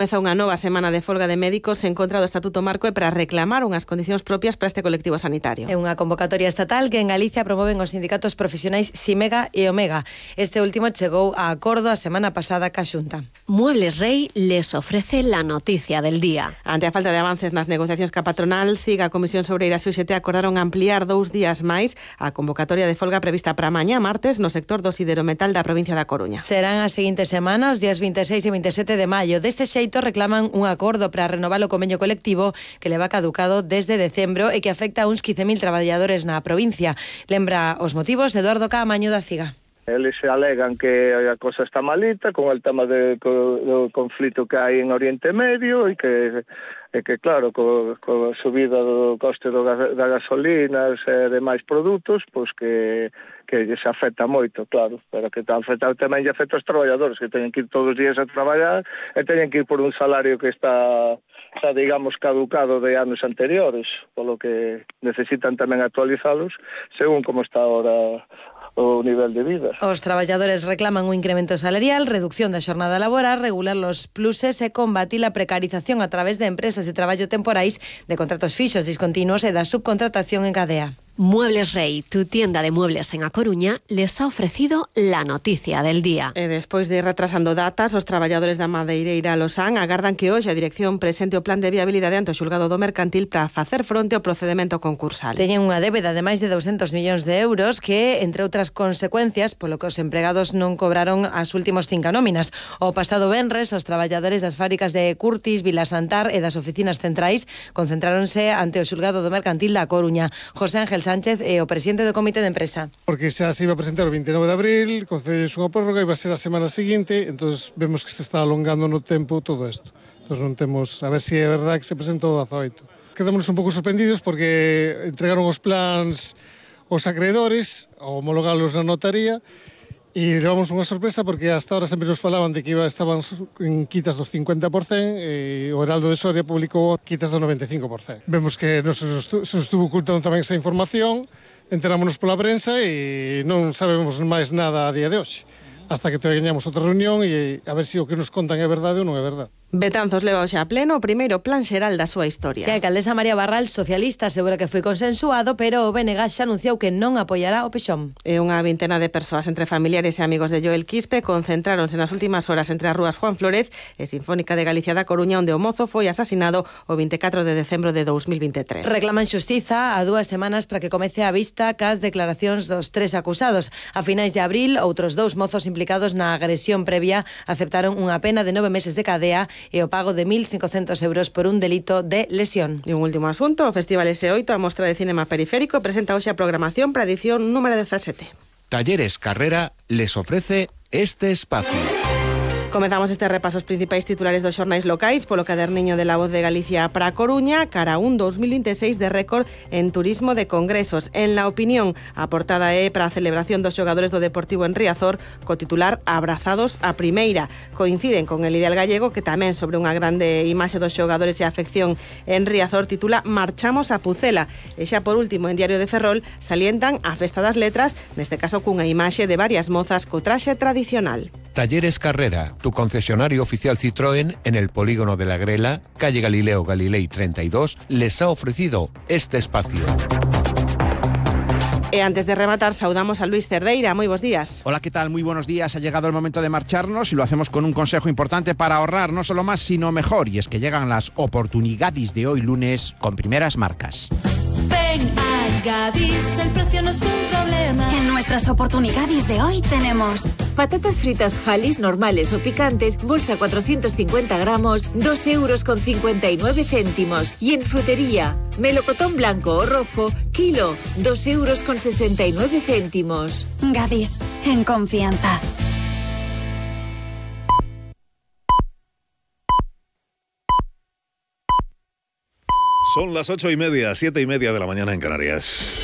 Comeza unha nova semana de folga de médicos en contra do Estatuto Marco e para reclamar unhas condicións propias para este colectivo sanitario. É unha convocatoria estatal que en Galicia promoven os sindicatos profesionais Simega e Omega. Este último chegou a acordo a semana pasada ca Xunta. Muebles Rey les ofrece la noticia del día. Ante a falta de avances nas negociacións ca patronal, CIG, a Comisión Sobreira e UGT acordaron ampliar 2 días máis a convocatoria de folga prevista para mañá martes no sector do siderometal da provincia da Coruña. Serán as seguintes semanas, os días 26 e 27 de maio. Deste xeito reclaman un acordo para renovar o convenio colectivo que leva caducado desde decembro e que afecta a uns 15.000 traballadores na provincia. Lembra os motivos Eduardo Caamaño da CIGA. Eles alegan que a cosa está malita con el tema do conflito que hai en Oriente Medio e que claro, co subida do coste da gasolina e demais produtos, pois que se afecta moito, claro, pero que tamén lle afecta aos traballadores que teñen que ir todos os días a traballar e teñen que ir por un salario que está digamos, caducado de anos anteriores, polo que necesitan tamén actualizalos según como está ahora o nivel de vida. Os traballadores reclaman un incremento salarial, reducción da xornada laboral, regular los pluses e combatir a precarización a través de empresas de traballo temporais, de contratos fixos discontinuos e da subcontratación en cadea. Muebles Rey, tu tienda de muebles en A Coruña, les ha ofrecido la noticia del día. E despois de ir retrasando datas, os traballadores da madeireira Losán agardan que hoxe a dirección presente o plan de viabilidade ante o xulgado do mercantil para facer fronte ao procedemento concursal. Teñen unha débeda de máis de 200 millóns de euros que, entre outras consecuencias, polo que os empregados non cobraron as últimos 5 nóminas. O pasado venres, os traballadores das fábricas de Curtis, Vilasantar e das oficinas centrais concentráronse ante o xulgado do mercantil da Coruña. José Ángel Sánchez é o presidente do comité de empresa. Porque xa se iba a presentar o 29 de abril, concedese unha prórroga e iba a ser a semana seguinte, entonces vemos que se está alongando no tempo todo isto. Entón non temos, a ver se é verdade que se presentou o 18. Quedámonos un pouco sorprendidos porque entregaron os plans aos acreedores, a homologalos na notaría, e levamos unha sorpresa porque hasta ahora sempre nos falaban de que estaban en quitas do 50% e o Heraldo de Soria publicou quitas do 95%. Vemos que se nos estuvo ocultando tamén esa información, enterámonos pola prensa e non sabemos máis nada a día de hoxe. Hasta que teñamos outra reunión e a ver se o que nos contan é verdade ou non é verdade. Betanzos leva hoxe a pleno o primeiro plan xeral da súa historia. A alcaldesa María Barral, socialista, asegura que foi consensuado, pero o BNG xa anunciou que non apoiará o Pexón. E unha vintena de persoas entre familiares e amigos de Joel Quispe concentráronse nas últimas horas entre as rúas Juan Flórez e Sinfónica de Galicia da Coruña, onde o mozo foi asasinado o 24 de decembro de 2023. Reclaman xustiza a 2 semanas para que comece a vista cas declaracións dos 3 acusados. A finais de abril, outros 2 mozos implicados na agresión previa aceptaron unha pena de 9 meses de cadea e o pago de 1.500 euros por un delito de lesión. E un último asunto, o Festival S8, a Mostra de Cinema Periférico, presenta hoxe a programación para a edición número 17. Talleres Carrera les ofrece este espacio. Comezamos este repaso aos principais titulares dos xornais locais polo caderniño de La Voz de Galicia para a Coruña, cara a un 2026 de récord en turismo de congresos. En La Opinión, a portada é para a celebración dos xogadores do Deportivo en Riazor, co titular Abrazados a Primeira. Coinciden con el Ideal Gallego, que tamén sobre unha grande imaxe dos xogadores e a afección en Riazor titula Marchamos a Pucela. E xa por último, en Diario de Ferrol, salientan a Festa das Letras, neste caso cunha imaxe de varias mozas co traxe tradicional. Talleres Carrera, tu concesionario oficial Citroën en el polígono de la Grela, calle Galileo Galilei 32, les ha ofrecido este espacio. E antes de rematar, saudamos a Luis Cerdeira. Moi bons días. Hola, ¿qué tal? Muy buenos días. Ha llegado el momento de marcharnos y lo hacemos con un consejo importante para ahorrar no solo más, sino mejor. Y es que llegan las oportunidades de hoy lunes con primeras marcas. Ven a Gadis, el precio no es un problema. En nuestras oportunidades de hoy tenemos patatas fritas Halis normales o picantes, bolsa 450 gramos, 2,59 €. Y en frutería, melocotón blanco o rojo, kilo, 2,69 €. Gadis, en confianza. Son las 8:30, 7:30 de la mañana en Canarias.